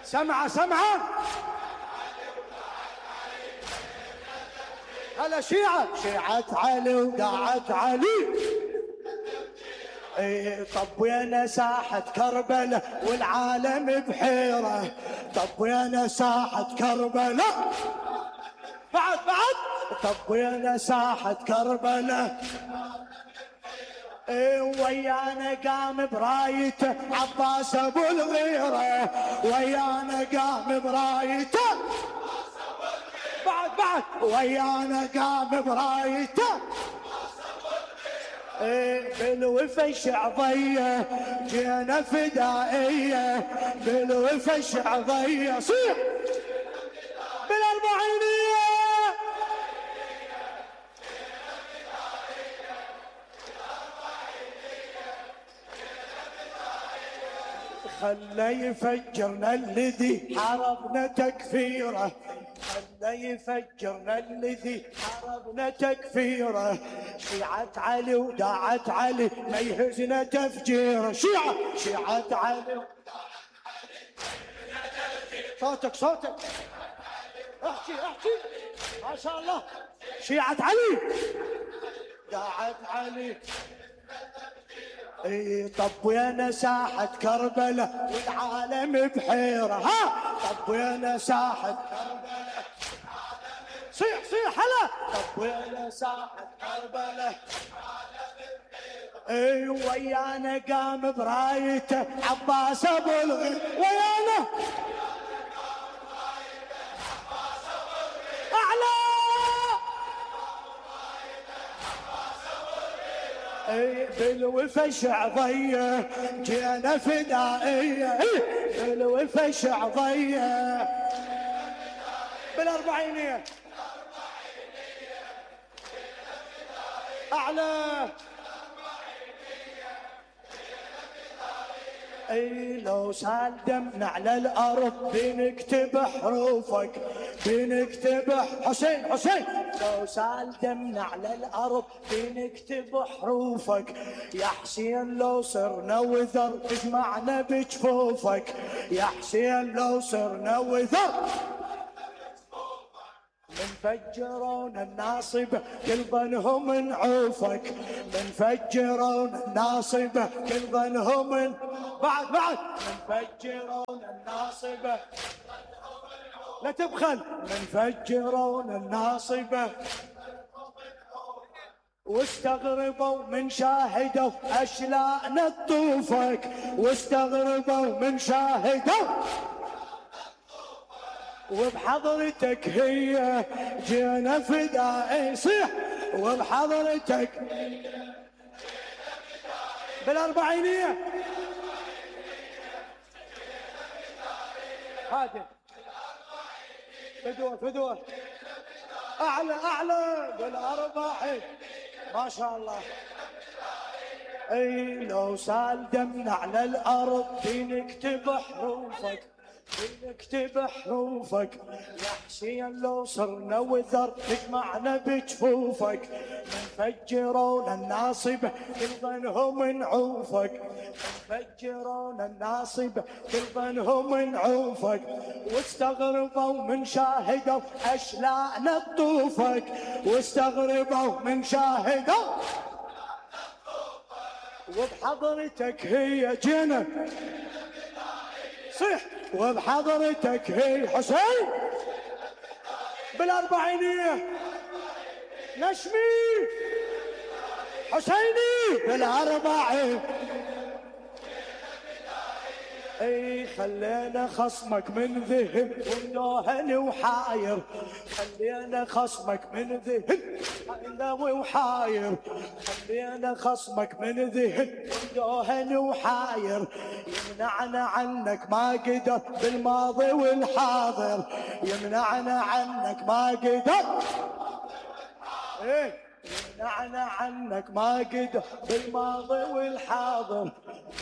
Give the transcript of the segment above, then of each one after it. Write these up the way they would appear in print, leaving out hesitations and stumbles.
سمعة سمعة. هلا شيعة علي وداعت علي. طبينا ساحة كربلاء والعالم بحيرة. طبينا ساحة كربلاء بعد طبينا ساحة كربلاء. ويانا قام برايته عباس ابو الغيرة. ويانا قام برايته بعد ويانا قام برايته. بالوفا شعضية جينا فدائية. بالوفا شعضية صيح بالأربعينية. خلى يفجرنا الذي حاربنا تكفيره. خلى يفجرنا الذي حاربنا تكفيره. شيعة علي وداعت علي ما يهزنا تفجيره. شيعة علي وداعت علي. صوتك احكي ما شاء الله. شيعة علي داعت علي. طبينا ساحة كربلاء والعالم بحيرة. طبينا ساحة كربلاء. صيح هلا. طبينا ساحة كربلاء. ويانا قام برايته عباس ابو الغير. ويانا اعلى. بالوفا شعضية جينا فدائية. بالوفا شعضية بالأربعينية أعلى. لو سال دمنا على الأرض بنكتب حروفك. بنكتب حسين لو سال دمنا على الأرض بنكتب حروفك. يا حسين لو صرنا وذر اجمعنا بجفوفك. يا حسين لو صرنا وذر منفجرون الناصب كل ظنهم نعوفك. منفجرون الناصب كل ظنهم بعد منفجرون الناصب لا تبخل. منفجرون الناصب واستغربوا من شاهدوا اشلاءنا تطوفك. واستغربوا من شاهدوا وبحضرتك هي جينا فدائي. صيح وبحضرتك بالأربعينية. هادي فدوة أعلى بالأربعين ما شاء الله. لو سال دمنا على الأرض بنكتب حروفك. بنكتب حروفك. يا حسين لو صرنا وذر تجمعنا بجفوفك. منفجرون الناصب كل ظنهم نعوفك. منفجرون الناصب كل ظنهم نعوفك. واستغربوا من شاهدوا اشلاءنا تطوفك. واستغربوا من شاهدوا وبحضرتك هي جينا. صيح وبحضرتك هي حسين بالأربعينية. نشمي حسيني بالأربعين. خلينا خصمك من ذهن وندوهن وحاير. خلينا خصمك من ذهن وحاير. خلينا خصمك من ذهن وندوهن وحاير. يمنعنا عنك ما قدر بالماضي والحاضر. يمنعنا عنك ما قدر. يمنعنا عنك ما قدر بالماضي والحاضر.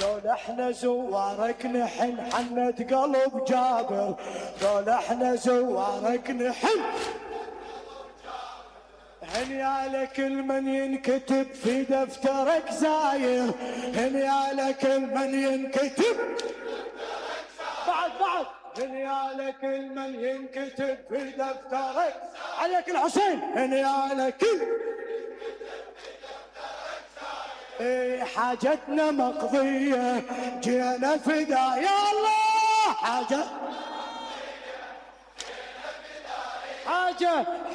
دول احنا زوارك نحن حنت قلب جابر. دول احنا زوارك نحن هنيالك المن ينكتب في دفترك زاير. هنيالك المن ينكتب بعد هنيالك المن ينكتب في دفترك. عليك الحسين هنيالك حاجتنا مقضية جينا فدا يا الله.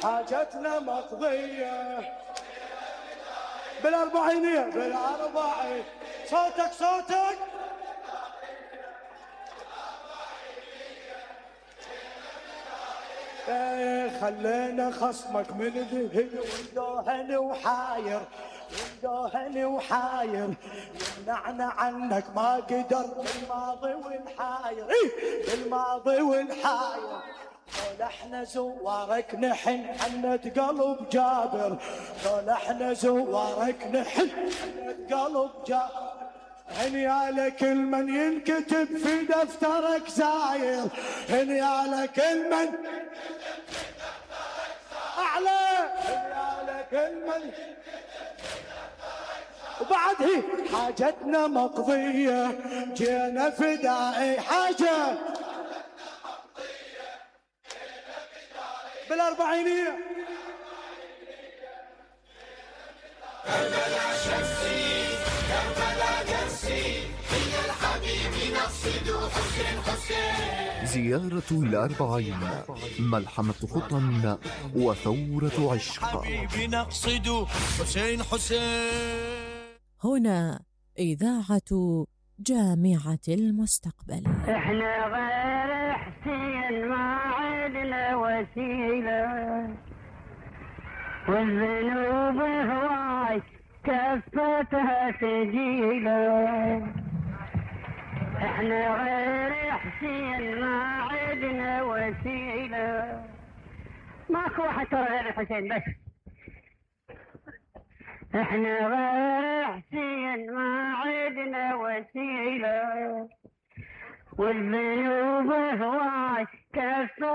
حاجتنا مقضية بالأربعينية بالأربعين. صوتك خلينا خصمك من ذهن وندوهن وحاير يمنعنا عنك ما قدر بالماضي والحاير لولا احنا زوارك نحن حنت قلب جابر. لولا احنا زوارك نحن حنت قلب جابر. هنيالك المن ينكتب في دفترك زاير. هنيالك المن أعلى. هنيالك المن وبعد هي حاجتنا مقضية جينا فدائي. حاجة بالأربعينية. كربلاء شمسي كربلاء درسي هي الحبيب نقصد حسين. زيارة الأربعين، ملحمة خطى وثورة عشق. حبيبي نقصد حسين. هنا إذاعة جامعة المستقبل. احنا غير حسين ما عدنا وسيلة والذنوب هواي كفتها ثقيلة. احنا غير حسين ما عدنا وسيلة. ماكو واحد ترى غير حسين بس. احنا غير حسين ما عدنا وسيلة والذنوب هواي كفتها